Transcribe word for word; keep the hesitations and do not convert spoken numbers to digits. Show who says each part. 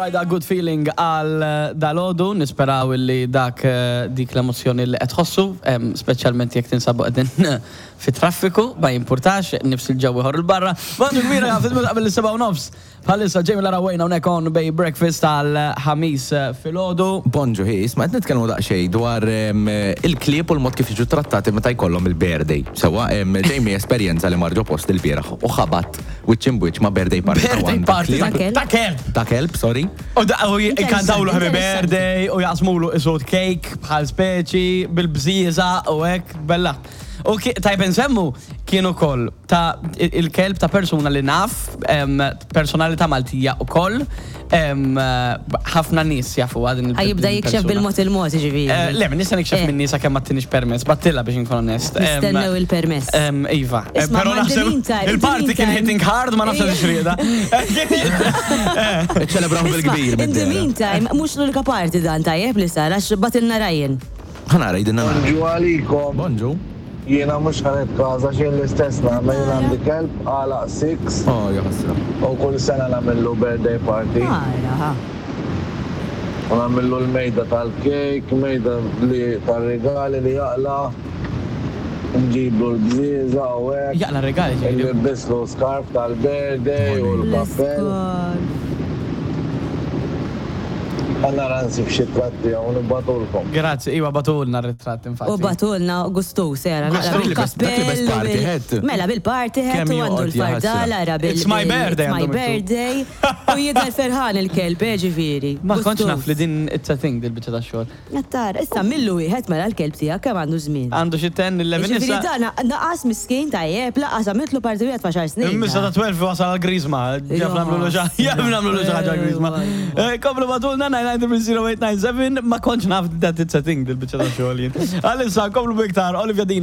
Speaker 1: Rida, "Good Feeling" għal dalgħodu, nisperaw li dak eh, dik l-emozjoni li qed tħossu, em, speċjalment jekk tinsabu qegħdin fi traffiku, ma jimpurtax, nifs il-ġew ieħor il-barra. Bonġu kbira, fil qabel is-sebgħa u nofs. Bħalissa Jamie Lara Wayne hawnhekk on Bay Breakfast għal Ħamis eh, filgħodu.
Speaker 2: Bonġu, hi, isma', qed nitkellmu daqsxejn dwar em, il-klieb u l-mod kif jiġu trattati meta jkollhom il-birthday. Sewwa, em, Jamie esperjenza li mar ġo post il-bieraħ u ħabat wiċċ imbwiċċ ma' birthday party. Ta'
Speaker 1: Birthday
Speaker 2: għandha
Speaker 1: party
Speaker 2: klieb.
Speaker 1: ta' ta' kelb.
Speaker 2: Ta' kelb, sorry.
Speaker 1: U da u jkantawlu "Happy
Speaker 3: Interessanti.
Speaker 1: Birthday" u jaqsmulu isod cake bħal speċi bil-bżieza u hekk bella. U ki- tajb nsemmu kienu kol ta' il-kelb ta' persuna li naf, em, personalità Maltija u koll, em, ħafna nies jafu għadin il
Speaker 3: Ħa jibda jikxef bil-mod il-mod, ġifieri.
Speaker 1: Eh, Le, nista nikxef
Speaker 3: Eh.
Speaker 1: minn nisa kemm ma tinix permess, battilla biex nkun onest. Em,
Speaker 3: Nistennew il-permess.
Speaker 1: em, Iva, Eh,
Speaker 3: Isma'
Speaker 1: pero
Speaker 3: ma in the
Speaker 1: naħseb
Speaker 3: meantime, in the
Speaker 1: il-party kien
Speaker 3: meantime.
Speaker 1: hitting hard, ma nafx
Speaker 3: Ija.
Speaker 1: xrieda.
Speaker 2: Ċelebraw bil-kbir.
Speaker 3: In the meantime, mhux l-unika party dan tajjeb li sar, għax bagħtilna Ryan.
Speaker 2: Ħa nara, jgħidilna nara.
Speaker 4: Bonġu għalikom.
Speaker 2: Bonġu.
Speaker 4: Jiena mhux ħa nitkaża xejn, l-istess nagħmel. Jien għandi kelb għalaq six
Speaker 2: Oh, jaħasra.
Speaker 4: u kull sena nagħmillu birthday party.
Speaker 3: Ara, ha.
Speaker 4: U nagħmillu l-mejda tal-kejk, mejda li tal-regali li jaqla', nġiblu l-bżieza u hekk.
Speaker 1: Jaqla' regali, ġifieri.
Speaker 4: Nlibbislu scarf tal-birthday u l-kappell. Ħa nara nsib xi tratti u nibagħtulkom.
Speaker 1: Grazzi, iwa, bagħtulna r-ritratt infatti.
Speaker 3: U bagħtulna gustu sera, naqra
Speaker 2: Dak li best- dak li best
Speaker 3: bil-kappell.
Speaker 2: party
Speaker 3: bil-
Speaker 2: hat.
Speaker 3: Mela bil-party hat
Speaker 2: Kemm
Speaker 3: u għandu
Speaker 2: joqgħod
Speaker 3: l-fardal,
Speaker 2: jaħasra.
Speaker 3: ara bil-
Speaker 1: "It's my
Speaker 3: bil-
Speaker 1: birthday"
Speaker 3: "It's my
Speaker 1: għandu miktub.
Speaker 3: birthday." U jidher ferħan il-kelb, eh, ġifieri.
Speaker 1: Ma kontx
Speaker 3: Gustus.
Speaker 1: naf li din it's a thing dil-biċċa ta' xogħol.
Speaker 3: Nattar, issa millu wieħed mela l-kelb tiegħek kemm għandu żmien?
Speaker 1: Għandu xi ten, eleven
Speaker 3: Ġifieri
Speaker 1: issa.
Speaker 3: dan naqas miskin tajjeb, laqas għamiltlu party wieħed f'għaxar snin.
Speaker 1: Missa ta' tnax wasal għal-grizma. Ġaf nagħmlu xi jaf nagħmlu xi ħaġa grizma. Komplu bagħtulna nine nine three zero eight nine seven, ma kontx naf that it's a thing dil-biċċa ta' xogħol jien. Għalissa komplu biktar Olivia Dean.